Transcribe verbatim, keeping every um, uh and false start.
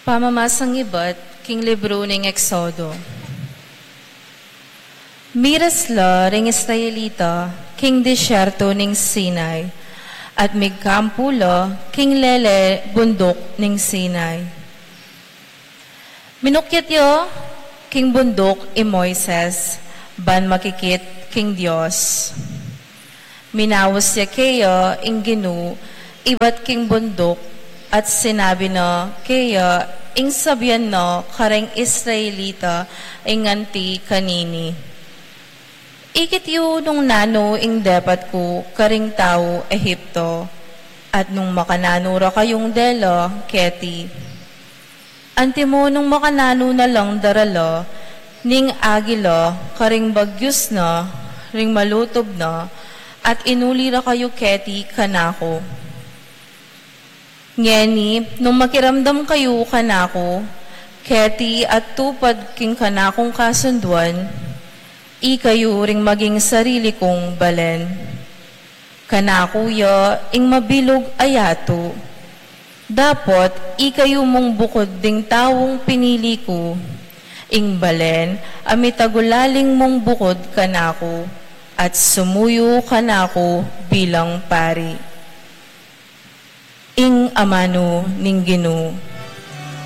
Pamamasang ibat king libru ning Eksodo. Miras la ring Israelita king disyerto ning Sinai, at migkampu la king lele bunduk ning Sinai. Minukyat ya king bunduk i Moises, ban makikit king Dios. Minaus ya keya ing Ginu ibat king bunduk, at sinabi na keya ing sabian na kareng Israelita ing anti kanini. Ikit yu nung nanu ing depat ku karing tau Egipto, at nung makananu ra kayung dela keti. Antimo nung makananu na lang darala ning agila karing bagyus na, ring malutub na, at inuli ra kayu keti kanaku. Ngeni, nung makiramdam kayu kanaku keti at tupad king kanakung kasunduan, ikayu ring maging sarili kung balen. Kanaku ya ing mabilug a yatu. Dapot ikayu mung bukud ding taung pinili ku, ing balen a mitagulaling mung bukud kanaku, at sumuyu kanaku bilang pari. Ing amanu ning Ginu.